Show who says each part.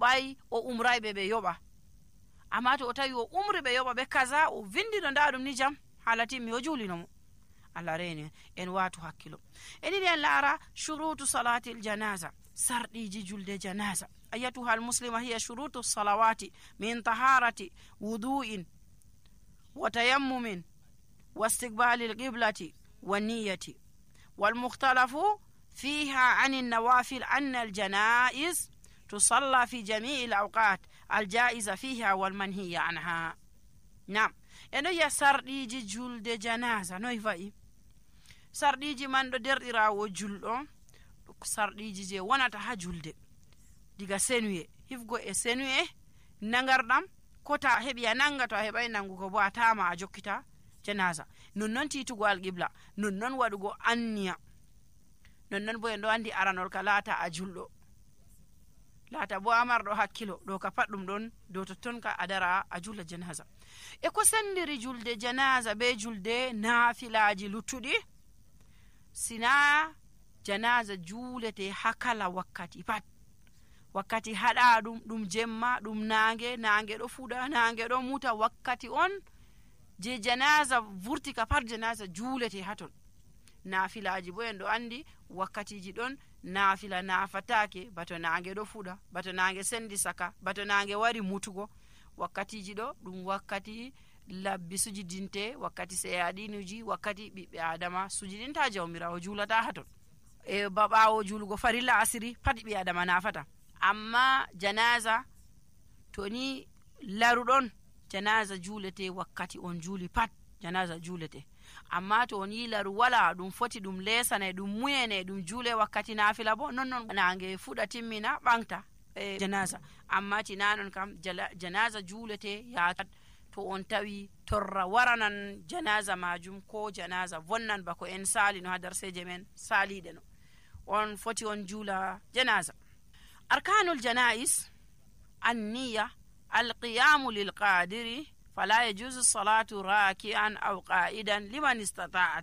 Speaker 1: yoɓay o umrayɓe ɓe yoɓa. amma to o tawi o umri ɓe yoɓa ɓe kaza, o vindino nda ɗum ni jam hala timmi o julinomo. Allah reni en watu hakkilo. Enini en laara shurutu salatil janaza, sarɗiji julde janaza. ayatuha almuslima hiya shurutu salawati min taharati wudu'in wa tayammumin wa istiqbali alqiblati wa niyyati wal mukhtalafu fiha an an-nawafil anna al-janaiz tusalla fi jami'i al-awqat al-jaiza fiha wal manhiya anha. Nam eno ya sarɗiji julde janaza noy fa'i. sarɗiji man ɗo derɗirawo julɗo sarɗiji je wonata ha julde diga senuye hifgo e senuye nangarɗam ko ta heɓi a nanga, to a heɓai nangugo bo a tama a jokkita janaza. nonnon titugo alqibla, nonnon waɗugo anniya, nonnon bo en ɗo andi aranol ka laata a julɗo, laata bo amarɗo hakkilo ɗo ka pat ɗum ɗon dow totton ka a dara a julla janaza. e ko sendiri julde janaza be julde naafilaji luttuɗi, sina janaza julete ha kala wakkati pat. wakkati haɗa ɗum jemma, ɗum nange ɗo fuɗa, nange ɗo muta, wakkati on je janaza vurti ka pat janaza julete haton. naafilaji bo en ɗo andi wakkatiji ɗon naafila nafatake bato nange ɗo fuɗa, bato nange sendi saka, bato nange wari mutugo. wakkatiji ɗo ɗum wakkati labbi sujidinte, wakkati seyaɗinuji, wakkati ɓiɓɓe adama sujidinta jawmirawo julata haton. e baɓawo julugo farilla asiri pat ɓi adama nafata. amma janaza to ni laruɗon janaza julete wakkati on juli pat janaza julete. amma to ni laru wala, ɗum foti ɗum lesane, ɗum muyene, ɗum jule wakkati nafila bo nonnon nange fuɗa timmina ɓangta janaza. amma tinanon kam janaza julete yatat to on tawi torra waranan janaza majum ko janaza vonnan bako en sali no ha darseje men saliɗe no, on foti on jula janaza. arkanul janais anniya alqiyamu lilqadiri fala yajuzu salatu raki'an aw qa'idan liman istata'a